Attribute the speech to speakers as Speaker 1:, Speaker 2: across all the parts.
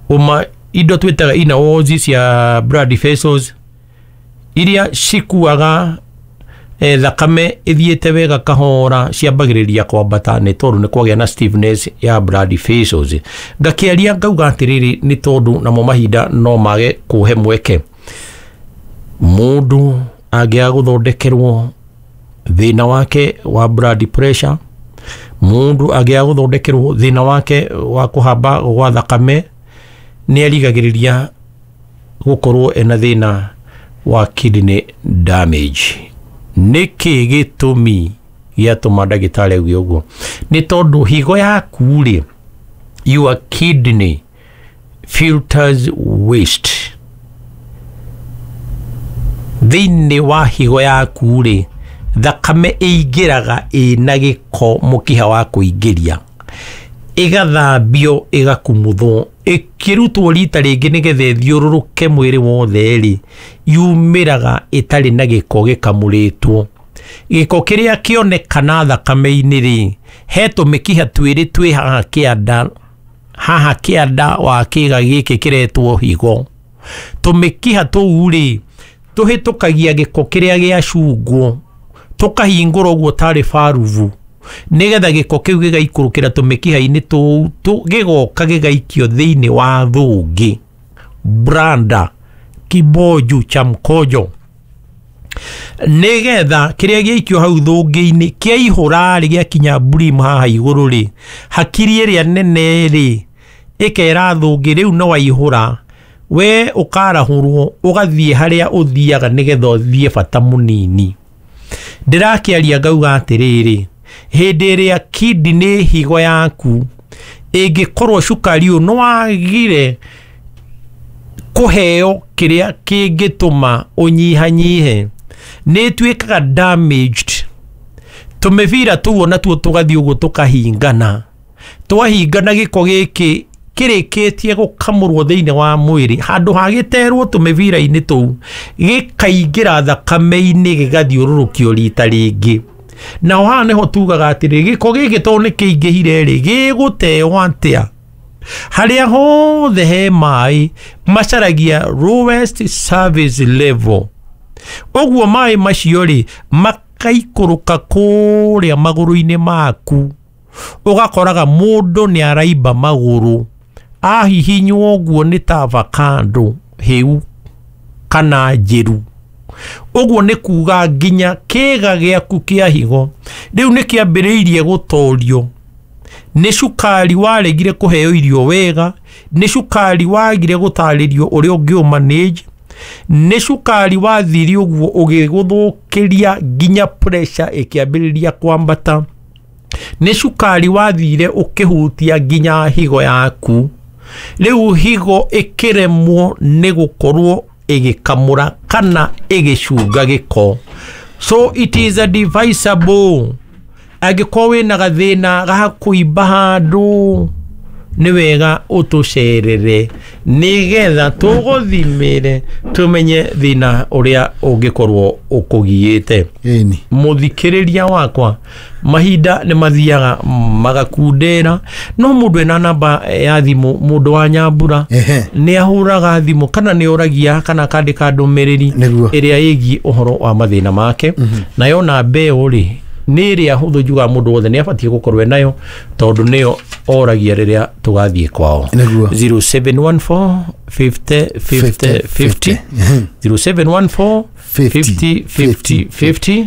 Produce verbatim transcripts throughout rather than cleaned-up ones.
Speaker 1: Uma indo twĩtaga inner walls cia blood vessels iria cikuaga eh, thakame ĩthiĩte wega kahora ciambagĩrĩria kwambata nĩ tondũ nĩ kwagĩa na stiffness ya blood vessels. Ngakĩaria ngauga atĩrĩrĩ, nĩ tondũ namo mahinda no mage kũhe mweke. Mũndũ angĩaga gũthondekerwo thĩna wake wa blood pressure, mũndũ angĩaga gũthondekerwo thĩna wake wa kũhamba gwa thakame, nĩ arigagĩrĩria gũkorwo ena thĩna wa kidney damage. Nĩkĩ gĩtũmi gĩatũma ndagĩtarĩ auge ũguo? Nĩ tondũ higo yaku rĩ, your kidney filters waste. Thĩinĩ wa higo yaku rĩ, thakame ĩingĩraga ĩna gĩko mũkiha wa kũingĩria, ĩgathambio, ĩgakumuthwo, ĩkĩrutwo rita rĩngĩ nĩgetha ĩthiũrũrũke mwĩrĩ wothe rĩ, yumĩraga ĩtarĩ na gĩko gĩkamũrĩtwo. Gĩko kĩrĩa kĩonekana thakame-inĩ rĩ, he tũmĩkiha twĩrĩ twĩ haha kĩanda, haha kĩanda wa kĩga gĩkĩ kĩretwo higo. Tũmĩkiha tũu rĩ, tũhĩtũkagia gĩko kĩrĩa gĩacungwo, tũkahingũra ũguo tarĩ barubu nĩgetha gĩko kĩu gĩgaikũrũkĩra tũmĩkiha-inĩ tũu, gĩgoka gĩgaikio thĩinĩ wa thũngĩ, branda kiboju cha mkojo, nĩgetha kĩrĩa gĩaikio hau thũngĩ-inĩ kĩaihũra rĩ, gĩakinya brim haha igũrũ rĩ, hakiri ĩrĩa nene rĩ ĩkera thũngĩ rĩu no waihũra, we ũkarahũrwo ũgathiĩ harĩa ũthiaga nĩgetha ũthiĩ bata mũnini. Ndĩrakĩaria ngauga atĩrĩrĩ, hĩndĩ ĩrĩa kidney, higo yaku ĩngĩkorwo cukari ũyũ nĩwagire kũheo kĩrĩa kĩngĩtũma ũnyihanyihe, nĩ ĩtuĩkaga damaged. Tũmĩbira tũu onatuo tũgathiĩ ũguo tũkahingana. Twahingana, gĩko gĩkĩ kĩrĩkĩtie gũkamũrwo thĩinĩ wa mwĩrĩ, handũ ha gĩterwo tũmĩbira-inĩ tũu, gĩkaingĩra thakame-inĩ, gĩgathiũrũrũkio rita rĩngĩ. Naho haha nĩho tugaga atĩrĩ, gĩko gĩkĩ tondũ nĩ kĩingĩhire rĩ, gĩgũteo atĩa? Harĩa hothe he maĩ macaragia lowest service level, ũguo maĩ macio rĩ makaikũrũka kũrĩa magũrũ-inĩ maku, ũgakoraga mũndũ nĩ araimba magũrũ, ahihinywo ũguo nĩ ta avocado hĩu kana njĩru. Ũguo nĩ kuga nginya kĩga gĩaku kĩa higo rĩu nĩ kĩambĩrĩirie gũtorio nĩ cukari waregire kũheo irio wega, nĩ cukari wagire gũtarĩrio ũrĩa ũngĩ manage, nĩ cukari wathire ũguo ũgĩgũthũkĩria nginya pressure ĩkĩambĩrĩria kwambata, nĩ cukari wathire ũkĩhutia nginya higo yaku. Rĩu higo ĩkĩremwo nĩ gũkorwo ĩgĩkamũra kana ĩgĩcunga gĩko. So it is advisable, angĩkorwo wĩna gathĩna ga kũimba handũ, nĩ wega ũtũcerere nĩgetha tũgũthimĩre tũmenye thĩna ũrĩa ũngĩkorwo ũkũgiĩte.
Speaker 2: Ĩni.
Speaker 1: Mũthikĩrĩria wakwa, mahinda nĩ mathiaga magakundera, no mũndũ ena namba ya thimũ, mũndũ wa Nyambura,
Speaker 2: Ehe.
Speaker 1: nĩ ahũraga thimũ kana nĩ oragia kana akandĩka ndũmĩrĩri
Speaker 2: Nĩguo.
Speaker 1: ĩrĩa ĩgiĩ ũhoro wa mathĩna make. Nayo namba ĩyo rĩ, nĩ ĩrĩa hũthũ, njugaga mũndũ wothe nĩ abatiĩ gũkorwo enayo tondũ nĩyo oragia rĩrĩa tũgathiĩ kwao.
Speaker 2: Nĩguo.
Speaker 1: zero seven one four fifty fifty fifty, zero seven one four fifty fifty fifty.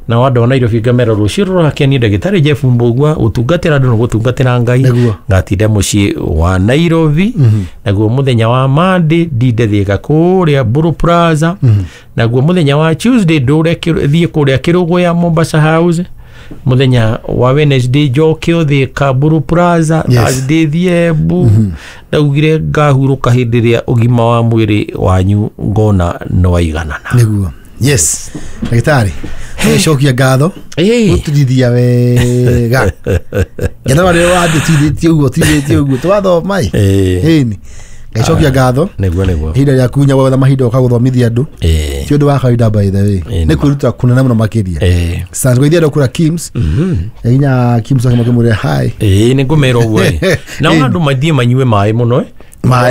Speaker 1: Na andũ a Nairobi ngamera rũciũ rũrakenia ndagĩtarĩ Jeff Mbũgua gũtungatĩra andũ na gũtungatĩra Ngai.
Speaker 2: Nĩguo.
Speaker 1: Ngatinda mũciĩ wa Nairobi. Naguo mũthenya wa Monday ndinde Thika kũrĩa Buru Plaza. Naguo mũthenya wa Tuesday ndũre kĩ- thiĩ kũrĩa Kĩrũgũya, Mombasa House. Mũthenya wa Wednesday njoke Thika, Buru Plaza.
Speaker 2: Yes.
Speaker 1: Thursday thiĩ Embu. Ndaugire ngahurũka hĩndĩ ĩrĩa ũgima wa mwĩrĩ wanyu ngona nĩ waiganana.
Speaker 2: Nĩguo, yes, ndagĩtarĩ, cokia ngatho
Speaker 1: Ĩĩ.
Speaker 2: gũtũrithia wega ngetha rĩrĩa watĩtithĩtie ũguo tithĩtie ũguo twathoma ĩ.
Speaker 1: Ĩĩ.
Speaker 2: Ĩni, ngaicokia ngatho.
Speaker 1: Nĩguo, nĩguo.
Speaker 2: Ihinda rĩa kunya gwetha mahinda ũka gũthomithia andũ
Speaker 1: Ĩĩ.
Speaker 2: ti ũndũ wa kawaida, by the way.
Speaker 1: Ĩĩ,
Speaker 2: nĩ
Speaker 1: nĩ
Speaker 2: kwĩruta kũnene mũno makĩria.
Speaker 1: Ĩĩ.
Speaker 2: Sasa kwa ithiĩ kũrĩa Kims, nginya Kims akĩmwĩra hi.
Speaker 1: Ĩĩ, nĩ ngũmera ũguo ĩ. Nao
Speaker 2: Ĩĩ.
Speaker 1: andũ mathiĩ manyue maĩ mũno ĩ.
Speaker 2: Maĩ.